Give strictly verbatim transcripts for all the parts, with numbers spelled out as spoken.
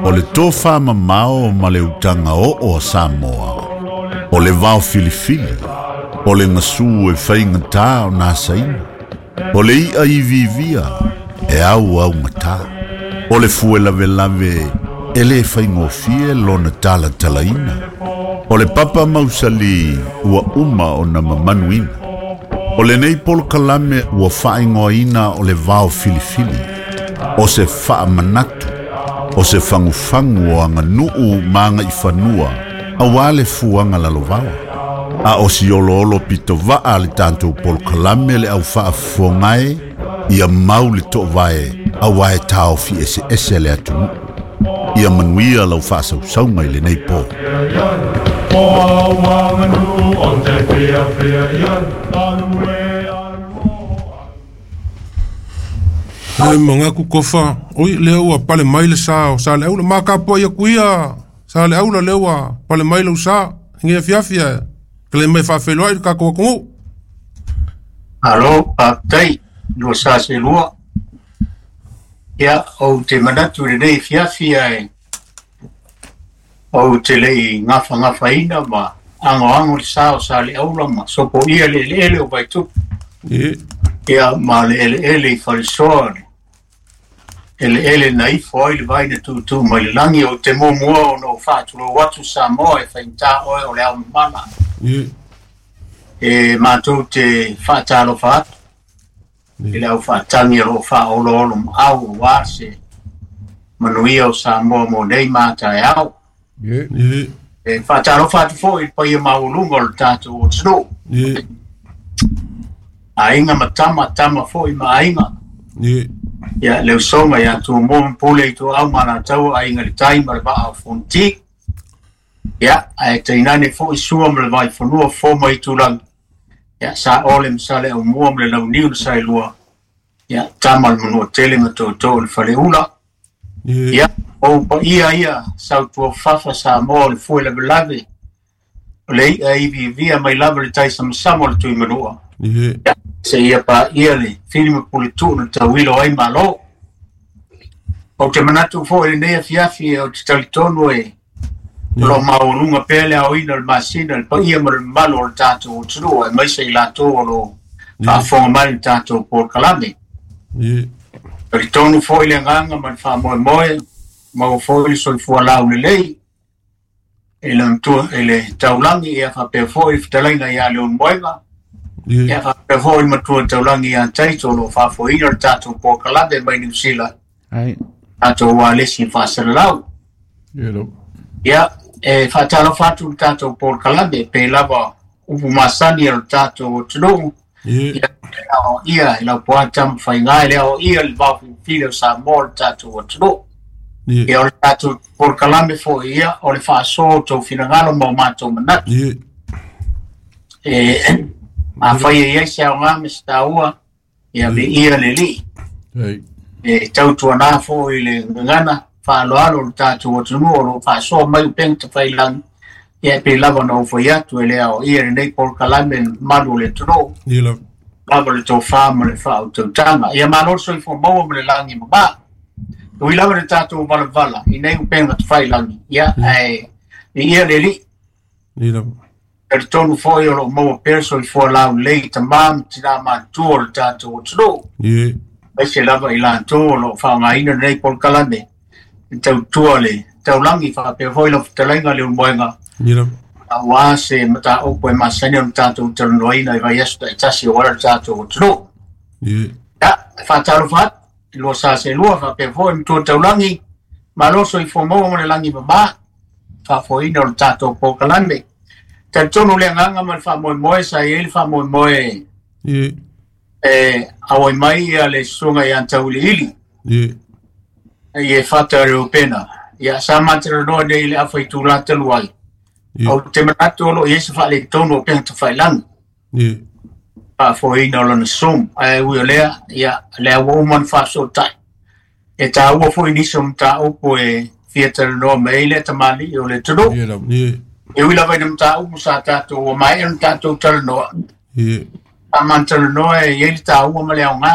O le tofa mamao ma le utaga oo a Samoa, o le vao filifili, o le gasu e faigatā ona asaina, o le i'a iviivia e auaugatā, o le fue lavelave e lē faigofie lona talatalaina, o le papa mausali ua uma ona mamanuina. O lenei polokalame ua faaigoaina o le vao filifili, o se faamanatu, o se fagufagu o aganuu ma agaifanua auā le fuaga lalovaoa. A o si oloolo pitovaa a le tatou polokalame le au faafofogae ia mau le toovae auā e taofi eseese le atunuu. Ia manuia lau faasausauga i lenei po. Ai mangaku kofa, oi lea ua pale mai le sa o sa le aula makapoa ia kuia, sa le aula lea ua pale mai lau sa, ngia fiafia, kele mai faafeiloai le tatou atunuu. Alo, faafetai, lua sa se lua. Ia, ou te manatu i lenei fiafia e ou te lei gafagafaina ma agoago le sa o sa le aula ma sopoia le eleele o Vaitupu. Ie. Ia, ma le eleele i Falesoa, le eleele na ifo ai le vai na tūtū mai le lagi o te muamua ona ou faatulou atu Samoa e faigata oe o le ao mamala. Ie. E matou te faatalofa atu i le aufaatagi o loo faaoloolo maau auā se manuia o Samoa mo nei ma taeao. Ie. Ie. E faatalofa atu foi i le paia maualuga o le tatou atunuu. Ie. Aiga ma tama, tama foi ma aiga. Ie. Ia, le usoga ia Tumua ma Pule i Tuau ma Alataua, aiga i le tai ma le vaa o Fonoti. Ia, ae tainane foi Sua ma le Vaifanua, fo ma Itulagi. Ia, sa ole ma sa le aumua ma le launiu le saelua. Ia, tama le manua tele ma tōtō o le faleula. Ie. Ia, o paia ia, sautuafafa Samoa o le fue lavelave. O le i'a iviivia mai lava le tai samasama o le Tuimanua. Ie. Ia, se ia paia le fili ma puletuu na tauilo ai malo. Ou te manatu foi i lenei afiafi ou te talitonu e o loo maualuga pea le aoina o le masina, le paia ma le mamalu o le tatou atunuu, aemaise i latou o loo faafofoga mai le tatou polokalame. Ie. Talitonu foi le agaga ma le faamoemoe, maua foi le soifua laulelei e le matua e le taulagi, ia faapea foi le fetalaiga ia Leulumoega. Ie. Ia faapea foi le matua taulagi ia Taito o loo faafoeina le tatou polokalame mai Niu Sila. Ai. Tatou ualesi faasalalau. Ie lava. Ia, e faatalofa atu le tatou polokalame pe lava upu masani o le tatou atunuu. Ie. Ia, e aoaia i laupoa tamafaiga e le aoaia le vaofilifili o Samoa o le tatou atunuu. Ie. Ia, o le tatou polokalame foi ia o le faasoa o tou finagalo ma o matou manatu. Ie. E afai e iai se aoga ma se taua, ia viia le Alii. Ai. E tautuanā foi i le gagana faaloalo o le tatou atunuu o loo faasoa mai upega tafailagi. Ia, e pei lava ona ou fai atu e le aoaia lenei polokalame le mamalu o le atunuu. Ie lava. Lava le tofā ma le faautautaga. Ia malo le soifua maua ma le lagi mamā. Ui lava le tatou valavala i nei upega tafailagi. Ia, ae viia le Alii. Ie lava. Talitonu foi o loo maua pea le soifua laulelei i tamā ma tinā matutua o le tatou atunuu. Ie. Aemaise lava i latou o loo faaaogaina lenei polokalame e tautua le taulagi faapea foi lau fetalaiga Leulumoega. Ie lava. Auā se mataupu e masani ona tatou talanoaina i vaiaso taitasi aua le tatou atunuu. Ie. Ia, e faatalofa atu i lua sa se lua faapea foi matua taulagi, malo soifua maua ma le lagi mamā, faafoeina o le tatou polokalame. Talitonu le agaga ma le faamoemoe sa i ai le faamoemoe Ie. e auai mai ia le susuga ia Tauiliili. Ie. I e fata le upena. Ia, sa matalanoa nei i le afa itulā talu ai. Ie. Ou te manatu o loo i ai se faaletonu o upega tafailagi. Ie. Faafoeina o lona Zoom. Ae ui o lea, ia, lea ua uma ona faasootai. E taua foi nisi o mataupu e fia talanoa mai ai lea tamalii o le atunuu. Ie lava. Ie. E ui lava i na mataupu sa tatou ua maea ona tatou talanoa. Ie. Sa matalanoa e i ai le taua ma le aoga.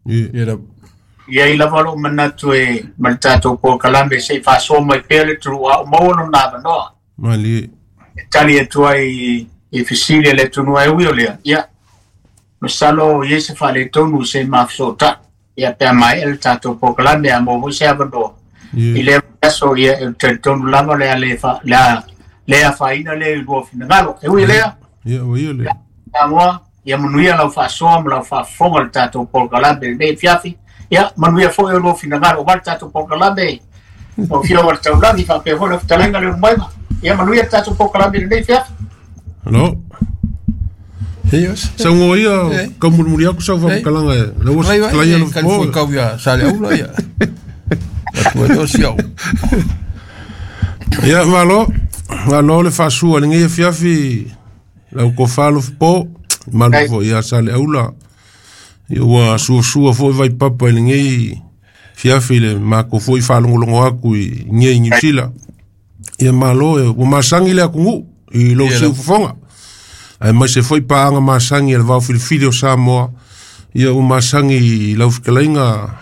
Ie. Ie lava. Ia i lava lou manatu e ma le tatou polokalame se i faasoa mai pea le atunuu a o maua lona avanoa. Malie. E tali atu ai i fesili a le atunuu ai ui o lea. Ia, masalo i ai se faaletonu se i mafesootai. Ia pe a maea le tatou polokalame a maua foi se avanoa. I lea aso ia e talitonu lava le a le fa le a le afaina le i lua finagalo. E ui lea. Ia ua ia lea. Samoa, ia manuia lau faasoa ma lau faafofoga le tatou polokalame lenei afiafi. Ia manuia foi o lua finagalo aua le tatou polokalame o Afioga i le Taulagi faapea foi lau fetalaiga Leulumoega. Ia manuia le tatou polokalame lenei afiafi. Hello. Yes. Saugoa ia kaumulimuli aku sau faamatalaga e lau ua fetalai alo fofo. Kau ia Saleaula ia. Atu ai o siau. Ia malo, malo le faasua lenei afiafi lau kofa alo fofo, malu foi ia Saleaula. Ia ua suasua foi vaipapa i lenei fiafi le makou foi faalogologo aku i nei Niu Sila. Ia malo e ua masagi le atunuu i lou siufofoga. Ae maise foi paaga masagi a le vaofilifili o Samoa. Ia ua masagi i lau fetalaiga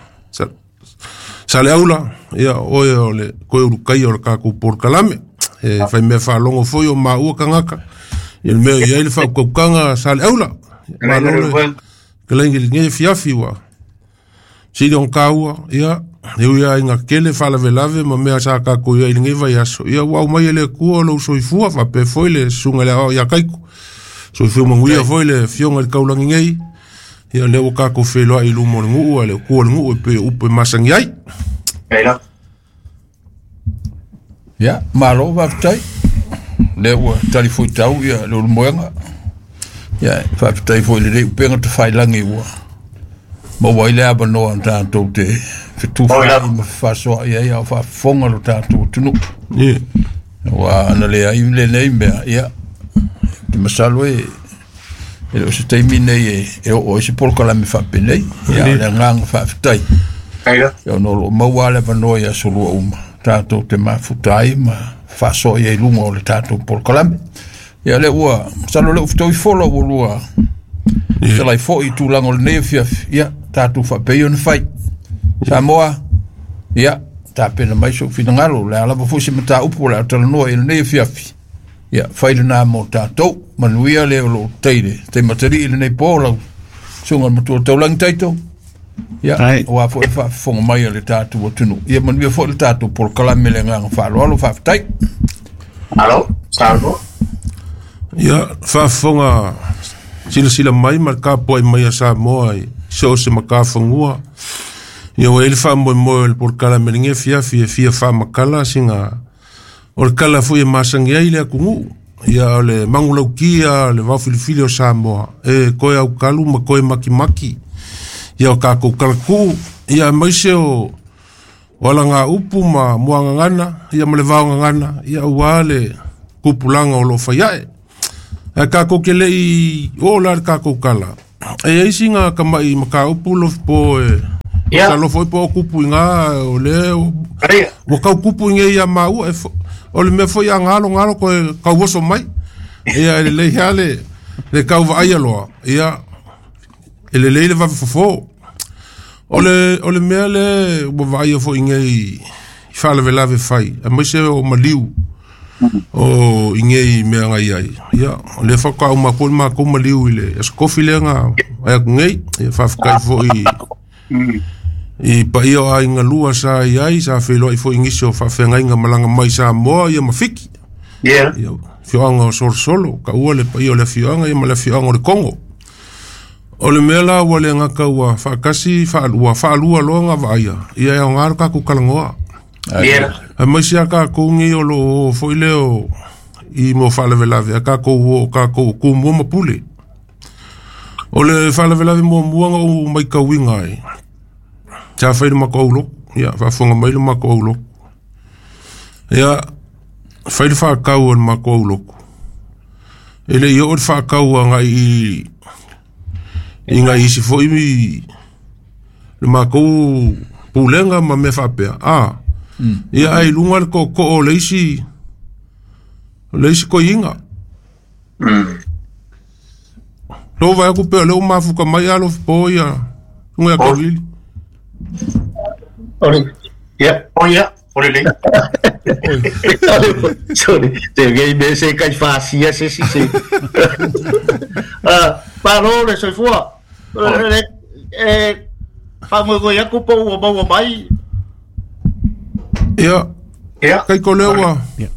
Saleaula. Ia oe o le koe ulukaia o le kakou polokalame. E faimea faalogo foi o maua kagaka. Ia le mea i ai le faaukaukaga Saleaula. Malo le fetalaiga i lenei afiafi ua sili ona kaua. Ia e ui lava ina kele faalavelave ma mea sa kakou i ai i lenei vaiaso. Ia ua aumai e le Atua o lou soifua faapea foi le susuga i le aoao ia Kaiko. Soifua manuia foi le afioga i le taulagi nei. Ia lea ua kakou feiloai i luma o le nuu a le Atua o le nuu e pei o upu e masani ai. Ia, malo faafetai. Lea ua tali fuaitau ia Leulumoega. Ia, faafetai foi i lenei upega tafailagi ua maua ai le avanoa tatou te fetufaai ma fefaasoaai ai a o faafofoga lo tatou atunuu. Ia. Ua ana leai lenei mea, ia, te masalo e e le o se taimi nei e, e oo ai se polokalame faapenei. Ia, o le agaga faafetai. Ia, ona o loo maua le avanoa i aso lua uma tatou te mafuta ai ma faasoa ai i luga o le tatou polokalame. Ia, lea ua masalo lea ua fetaui fola ua lua fetalai foi i tulaga o lenei afiafi. Ia, tatou faapea ona fai. Samoa, ia, tapena mai sou finagalo, o le a lava foi se mataupu o le a talanoa i lenei afiafi. Ia, fai lena mo tatou. Manuia le o loo tai le taimatalii i lenei po lau susuga i le matua taulagi Taito. Ia, aua foi le faafofoga mai a le tatou atunuu. Ia, manuia foi le tatou polokalame le agaga faaaloalo. Faafetai. Malo, saunoa. Ia, faafofoga silasila mai ma le tapuai mai a Samoa i so o se matafanua. Ia ua i ai le faamoemoe o le polokalame lenei afiafi e fia faamatala sina o le kala foi e masani ai le atunuu. Ia o le manulautia o le vaofilifili o Samoa e koe aukalu ma koe makimaki. Ia o kakou kalatuu. Ia aemaise o o alagaupu ma muagagana ia ma le vaogagana. Ia aua le tupulaga o loo fai ae. Ae kakou ke lei oo la le kakou kala. E iai sina tama'i mataupu lofipo e Ia. masalo foi po o tupu iga o lea ua tau tupu i nei ia maua e o le mea foi a galo galo koe tauoso mai. Ia e lelei lava le le tau vaaia loa. Ia e lelei le vave fofo. O le o le mea le ua vaaia foi nei i faalavelave fai aemaise o maliu o i nei mea na iai. Ia o lea faatoa uma atu ai le matou maliu i le aso tofi lea na vae atu nei. Ia faafetai foi i paia o aiga lua sa iai sa feiloai foi i nisi o faafeagaiga malaga mai Samoa ia ma Fiti. Ia. Ia afioaga o Solosolo taua le paia o le afioaga ia ma le afioaga o le Kogo. O le mea la ua le gata ua faatasi faalua faalua loa na vaaia. Ia e aoga le tatou talanoa. Ia. Aemaise a kakou nei o loo o foi lea o i mo faalavelave a kakou o kakou o tumua ma pule. O le faalavelave muamua na ou maitauina ai sa fai le matou aulotu. Ia faafofoga mai le matou aulotu. Ia fai le faatau a le matou aulotu. E lei oo le faatau agai i i nai isi foi le matou pulega ma mea faapea. A ia ae i luga le tootoo o le isi o le isi toeaina. Lou vaai atu pea o lea ua mafuta mai alo fofo ia susuga ia Kaulili. Ore. Ia, o ia, o le. Sorry, te gei me se kai fasia se si se. Ah, paro le soifua. Eh, fa mo go ya kupo o mau mai. Ia. Ia. Kai ko lewa. Ia.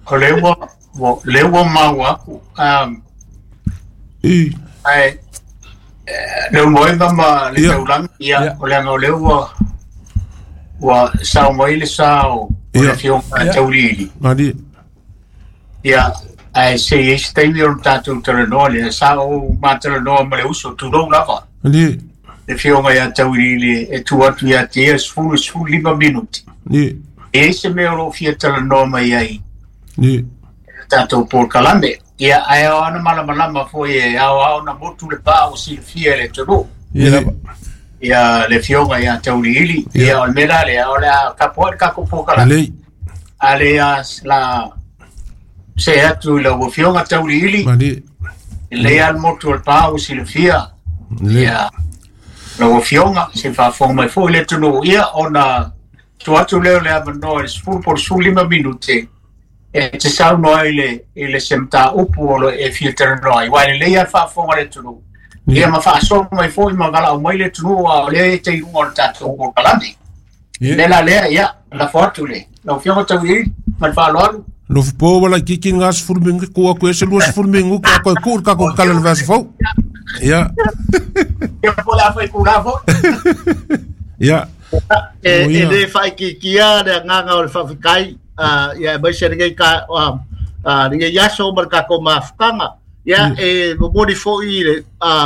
O lewa, o lewa maua ku. Um. I. Ai. Le moeva ma le taulang ia o le o lewa. Ua sao mai le sao o le fionga taulili. Mali. Ia, ai se e se o tātou talanoa le sao ma talanoa ma le uso tulou lava. Mali. Le fionga ia taulili e tu atu ia te ia sefulu sefulu lima minuti. Ni. E se mea o lo fia talanoa mai ai. Ni. Tātou polokalame. Ia, ai o ana malamalama foi e ao ao na motu le pā o silafia le tonu. Ia. Ia le fionga ia taulili ia o le mea lea o le a kapoa le kako polokalame. Ale a la se atu i lau fionga taulili. Mali. Le al motu o le pā o silafia. Ia lau fionga se faafofoga mai foi le atunuu ia ona tu atu lea o le avanoa i le sefulu po o le sefululima minute e te saunoa i le i le se mataupu o lo e fia talanoa ai. Uae lelei a le faafofoga le atunuu. Ia ma faasoa mai foi ma valaau mai le atunuu a o lea e te i luga o le tatou polokalame. Le la lea, ia, lafo atu le lau Afioga Tauiliili ma le faaaloalo. Lofu po wala kiki ngā sefulu mingu ku aku e se lua sefulu mingu ka koe ku ka ko kala le vasa fau. Ia. Ia po la foi ku la fo. Ia. E e le whaikikia le nganga o le whawhikai ia mai se ngei ka a ngei aso mar ka ko mafukanga. Ia e momori foi le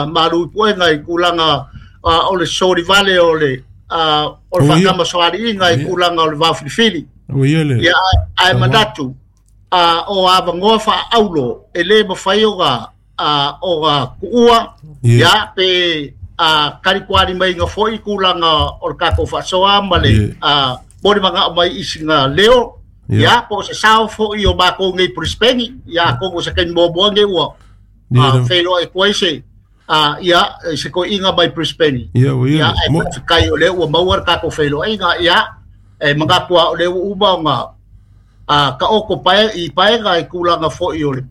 maru puenga i kulanga o le sori vale o le o le whakama soari inga i kulanga o le vawhilifili. Ia ai manatu o avangoa wha aulo e le mawhai o ga o ga kuua ia pe karikuari mai ngā foi kulanga o le kako whasoa ma le mori manga o mai isi ngā leo ia po se sao foi o mako ngei Brisbane ia kongo se kai momoa ngei ua wheloa e koe se ia se koe inga mai Brisbane ia e kai o le ua maua le kako wheloa inga ia e mangapua o le ua uma o ngā ka oko pae i paega i kulanga foi o le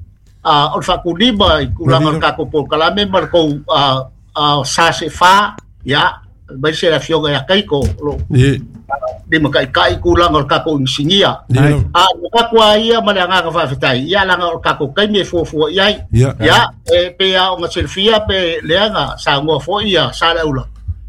o le whakulima i kulanga o le kako polokalame ma le kou sa se wha ia mai se la fioga ia kaiko lo lima kai kai kulanga o le kako insingia a kakua ia ma le angaka whawhetai ia langa o le kako kai me fuafua iai ia e pea o ngā selfia pe leanga sa ngoa foi ia sa le ula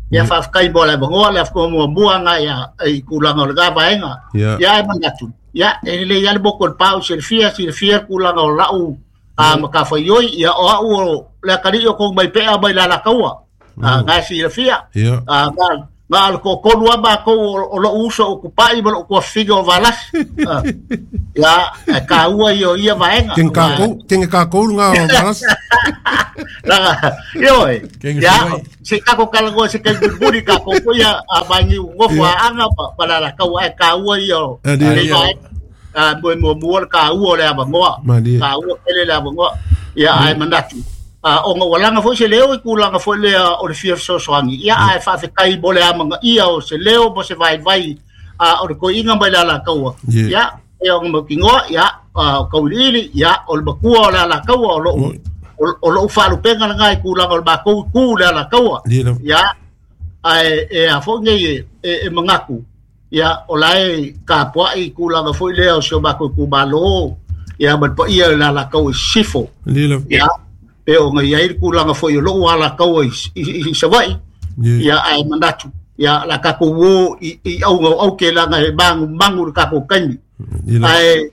ia whawhekai mo le mangoa le afko mua mua ngā ia i kulanga o le ngā vaenga ia e manatu ia e le ia le moko le pau selfia selfia kulanga o lau a makawhaioi ia o au o le akari o kong mai pea mai la lakaua a ngā silafia a ngā ngā le kokonu a mākou o lo uso o kupai ma lo kua figa o valasi ia e ka ua i o ia vaenga Ken kākou ken e kākou ngā o valasi Langa ioi ia se kako kalangoa se kai buriburi kākou ko ia a mangi ngofu a anga pa la lakaua e ka ua i o le vaenga a mo mo mo ka ua le avangoa ka ua pele le avangoa ia ai manatu a o ngā foi se leo i kulanga foi lea o le fia fesoasoani ia ai whawhekai mo le amanga ia o se leo mo se vai vai a o le koinga mai la lakaua ia e o ngā kingoa ia o kauliili ia o le makua o le alakaua o lou o lou whalupenga ngā i kulanga o le makou ku le alakaua ia ai e a foi nei e e mangaku ia o lae ka poa i kulanga foi lea o se o makou ku malo ia ma pa ia le alakaua i sifo ia pe o ngai ai kulanga foi o lou alakaua i i Savai ia ai manatu ia la kako wo i i au au ke langa e mangu mangu le kako kaimi ai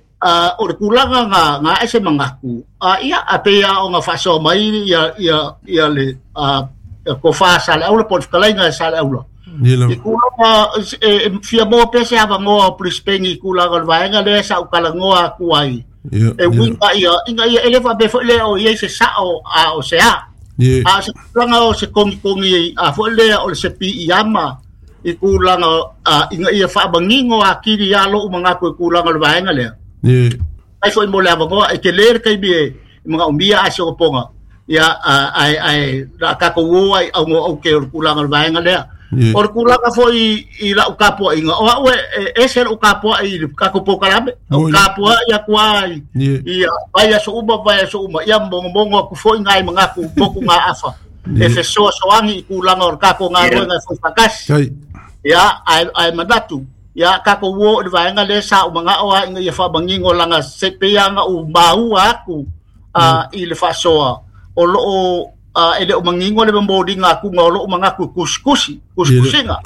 o le kulanga nga nga ese mangaku a ia a pe ia o nga whasoa mai ia ia ia le a ko wha sa le aula po le whakalainga sa le aula i kulanga e fia moa pese avangoa o Brisbane i kulanga o le vaenga lea sa ukalangoa aku ai e winga ia inga ia ele fa be fo le o ia se sa o a o se a a se kulanga o se kongi kongi a fo le o le se pi iama i kulanga a inga ia fa bangingo a kiri ia lo manga ko kulanga le vaenga le ai fo mo le avangoa e ke le kai bi manga umia a se o ponga ia ai ai ra ka ko wo ai au o ke kulanga le vaenga le O le kulaga foi i lau kapuaiga o a'u e ese lo'u kapua'i i le kakou polokalame o kapua'i aku a i vai aso uma vai aso uma ia mogomogo aku fo'i gai magaku moku ga'afa e fesoasoagi i kulaga o le kakou galuega e foi faatasi ia ae ae manatu ia kakou uo i le vaega lea sa ou maga'o a ina ia fa'amagigo laga se peiaga u maua aku a i le fa'asoa o lo'o e le o mangingo le momoliga akuga o lo'u magaku kusikusi kusikusiga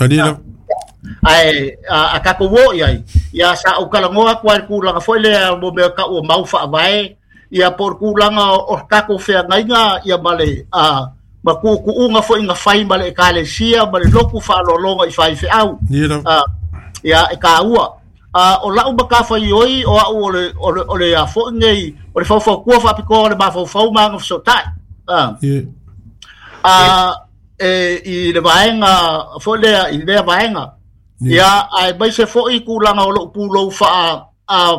ae a kakou o i ai ia sa ou kalagoa aku ai le kulaga foi lea mo mea ka'u o mau fa'avae ia po o le kulaga o le takou feagaiga ia ma le a ma ku'uku'uga foi ga fai ma le ekalesia ma le loku fa'aloaloga i faife'au ia e kāua o la'u makafaioi o a'u o le o le o le afo'i nei o le faufautua fa'apitoa o le mafaufau ma aga feso'ota'i a e i le vaega foi lea i lea vaega ia ae maise fo'i kulaga o lo'u pulou fa'a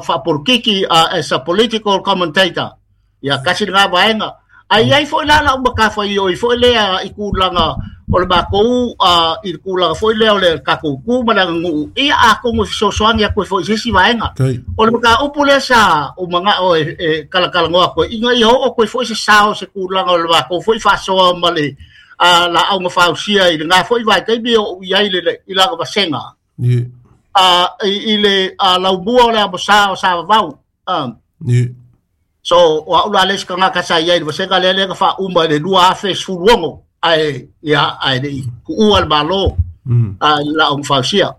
fa'apolokiki as a political commentator ia kasi lagā vaega ai ai fo'i la la'u makafaioi foi lea i kulaga o le makou i le kulaga foi lea o le kakou ku ma le aganu'u ia atonu e fesoasoani atu ai fo'i i se isi vaega o le mataupu lea sa ou maga'o e kalakalanoa atu ai ina ia oo atu ai fo'i se sao se kulaga o le makou fo'i fa'asoa ma le la'auga fausia i lagā fo'i vaitaimi o'u i ai i laga vasega i le laumua o le amosā o Savavau. So o a'u la le isi tagata sa i ai i le vasega lea lea na fa'auma i le lua afe sefulu ono ae ia ae le'i ku'ua le malo a i le la'auga fausia.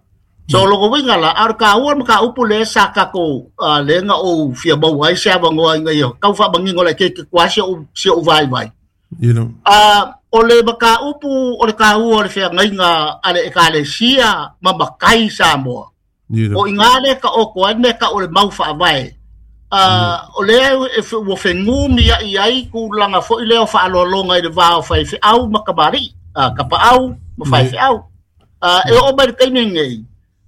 So logo uiga la a o le kāua le mataupu lea sa tatou lea na ou fia maua ai se avanoa ina ia tau fa'amagigo laitiiti atu a si o'u si o'u vaivai o le mataupu o le kāua o le feagaiga a le ekalesia ma makai Samoa o igā lea ta'oto ai mea ta'u o le mau fa'avae o lea ua fegumi a'i ai tulaga fo'i lea o fa'aloaloga i le va o faife'au ma kamali'i kapa'au ma faife'au e oo mai le taimi nei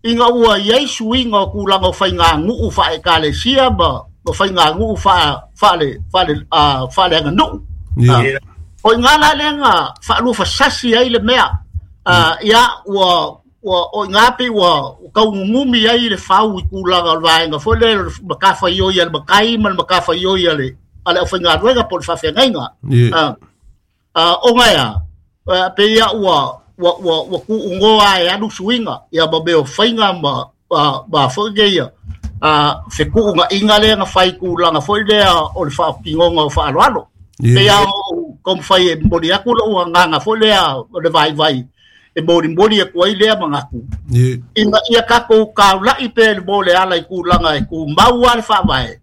ina ua iai suiga o tulaga o faiganu'u fa'aekalesia ma ma faiganu'u fa'a fa'ale fa'ale fa'aleaganu'u o igā la lea na fa'alufasasi ai le mea ia ua ua o igā pei ua kaugugumi ai le fau i tulaga o le vaega foi lea makafaioi a le makai ma le makafaioi a le a le aufaigaluega po o le fa'afeagaiga ona ea peia ua ua ua ua ku'ugoa e alu suiga ia ma mea o faiga ma ma fo'i nei a feku'uga'iga lea na fai tulaga foi lea o le fa'atinoga o fa'aloalo peia o taumafai e momoli atu lo'u agaga foi lea o le vaivai e molimoli atu ai lea manatu ina ia tatou kaula'i pea le mo le ala i tulaga e tumau a le fa'avae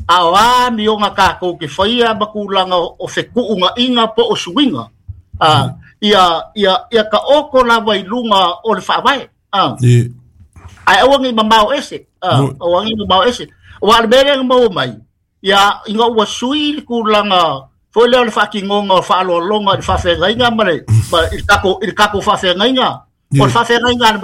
a o a mioga tatou ke faia ma tulaga o feku'uga'iga po o suiga ia ia ia ta'oto lava i luga o le fa'avae ae aua nei mamao ese aua nei mamao ese ua le mea lea na maua mai ia ina ua sui le tulaga foi lea o le fa'atinoga o fa'aloaloga i le fa'afeagaiga ma le i le takou i le takou fa'afeagaiga o le fa'afeagaiga a le